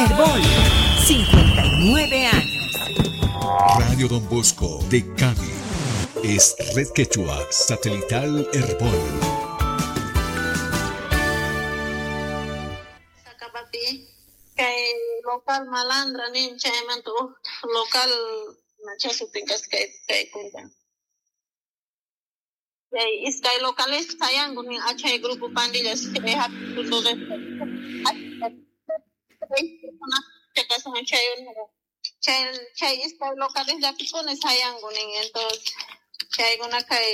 Herbol, 59 años. Radio Don Bosco de Cali es Red Quechua Satelital Herbol. Sacapapi, kay local malandra nin chaymanta uj local chasutin kay kay kunta. Chay iskay locales sayanku nin achay grupo pandillas chay chay chay iskay locales llapikuna sayanku nin entonces chaykuna kay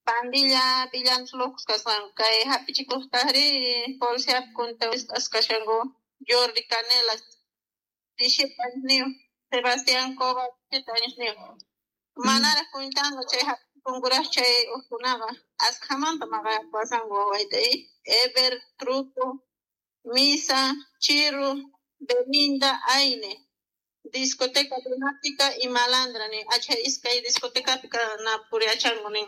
pandilla pillantloj kasqanku kay hapichikuqtaqri policía kunta wisq'as kashanku Jordi Canela 17 añosniyuq, Sebastián Cova 7 añosniyuq. Manaraq kuntanku chay hapichikunkuraq chay ujkunaqa askhamanta maqapasanku wawayta Ever, Truco, Misa, Chiru, Belinda, Aine. Discoteca Lunática y Malandra nin achay iskay discotecapi na puriachanku nin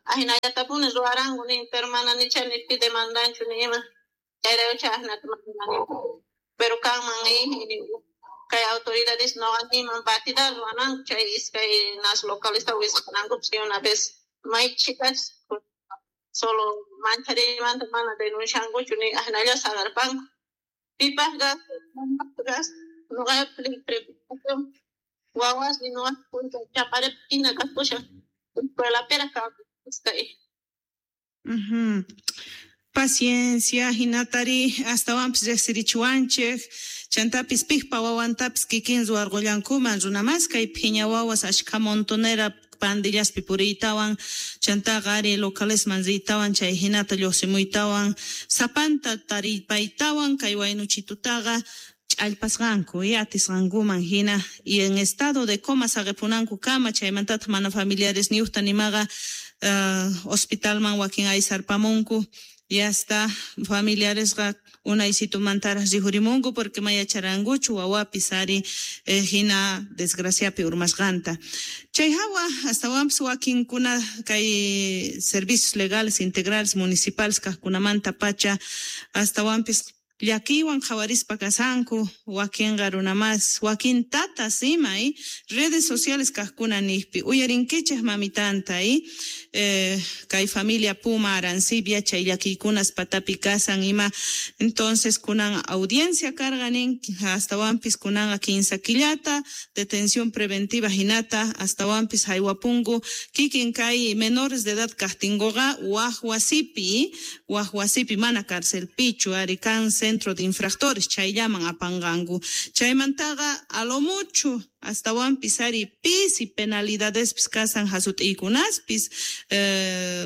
ahinallatapuni ruwaranku nin pero mana nicha ni pi demandanchu ni ima chayrayku ahinata manani pero kanman kay autoridades no animan batida ruwananku chay iskay nas localesta wisq'anankupas una vez may chicas solo manchariymanta mana denunciankuchu ni ahinalla saqarpanku pipaq gas noqa wawas ni noqa punta chaparepina kasqushan escuelapiraq kawsay. Paciencia, hinatari astawanpis riqsirichiwanchik, chantapis piqpa wawantapis kikin ruwarqullankuman runamas kay phiña wawas ashkha montonera pandillaspi puriytawan, chantaqa ari localesman riytawan chay hinata lluqsimuytawan, sapanta taripaytawan kay waynuchitutaqa ch'allpasqanku y atisqankuman hina y en estado de coma saqepunanku kama chaymantataq mana familiares niyuqta nimaqa hospitalman wakin aysarpamunku y hasta familiaresqa unaysitumantaraq rihurimunku porque mayacharankuchu wawapis ari hina desgraciapi urmasqanta. Chay hawa astawanpis wakinkuna kay servicios legales integrales municipales kaqkunamanta pacha astawanpis llakiywan qhawarispa kasanku wakinqa runamas wakin tatas ima redes sociales kaqkuna niqpi uyarinkichik mamitanta kay familia Puma Arancibia chay llakiykunas patapi kasan ima entonces kunan audiencia karqa nin astawanpis kunanqa 15 killata detención preventiva hinata astawanpis haywapunku kikin kay menores de edad kaqtinkuqa waj wasipi mana carcelpichu ari kan centro de infractores chayllaman apanqanku chaymantaqa a lo mucho astawanpis ari pisi penalidadespis kasan hasut'iykunaspis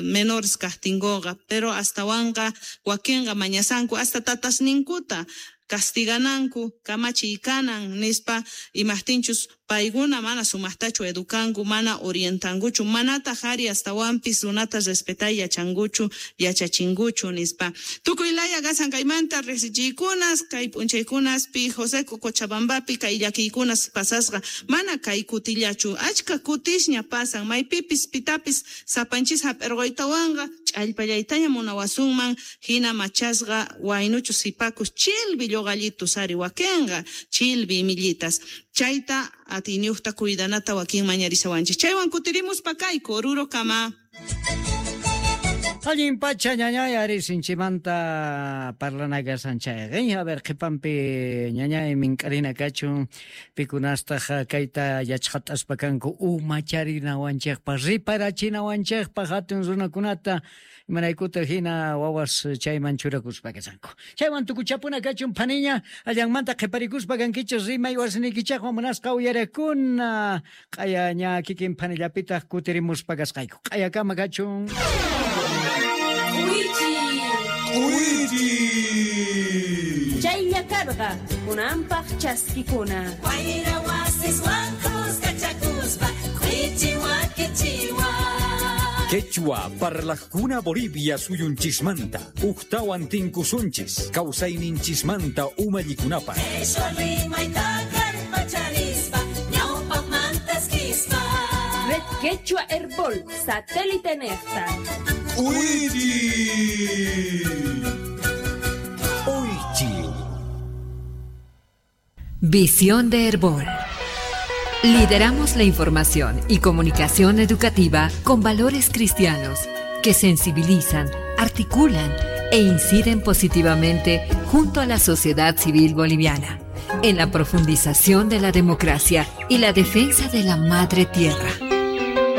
menores kaqtinkuqa pero astawanqa wakinqa mañasanku hasta tatasninkuta castigananku kamachiy kanan nispa imaqtinchus paykuna mana sumaqtachu edukanku mana orientankuchu manataq ari astawanpis runata respetay yachankuchu yachachinkuchu nispa tukuy laya kasan kaymanta riqsichiykunas kay p'unchaykunaspi José Cochabambapi kay llakiykunas pasasqa mana kay kutillachu achka kutisña pasan maypipis pitapis sapanchis hap'irquytawanqa ch'allpallaytaña munawasunman hina machasqa waynuchu sipakus chilbi lluqallitus ari wakinqa chilbi imillitas chayta atiyniyuqta cuidanata wakin mañarisawanchik chaywan kutirimuspa kayku Oruro kama. Allin pacha ñañay ari sinchimanta parlana kasan chayqa a ver qhipanpi ñañay mink'arina kachun pikunastaq kayta yachqat'aspa kanku umacharinawanchikpaq riparachinawanchikpaq hatun runakunata imaraykuta hina wawas chayman churakuspa kasanku chaywan tukuchapuna kachun phaniña allanmanta qhiparikuspa kankichik rimay wasniykichikwan munasqa uyarakuna q'aya ña kikin phanillapitaq kutirimuspa kasqayku q'ayakama kachun. Chaylla karqa kunanpaq chaskikuna. Wayra wasiswan kuskachakuspa k'uichiwa kichiwa. Quechua parlajkuna Bolivia suyunchismanta uktawan tinkusunchis kawsayninchismanta umallikunapaq. Quechua rimayta kallpacharispa ñawpaqmanta eskispa. Red Quechua Herbol satélite nefta. Uichi. Oichi. Visión de Herbol. Lideramos la información y comunicación educativa con valores cristianos que sensibilizan, articulan e inciden positivamente junto a la sociedad civil boliviana en la profundización de la democracia y la defensa de la madre tierra.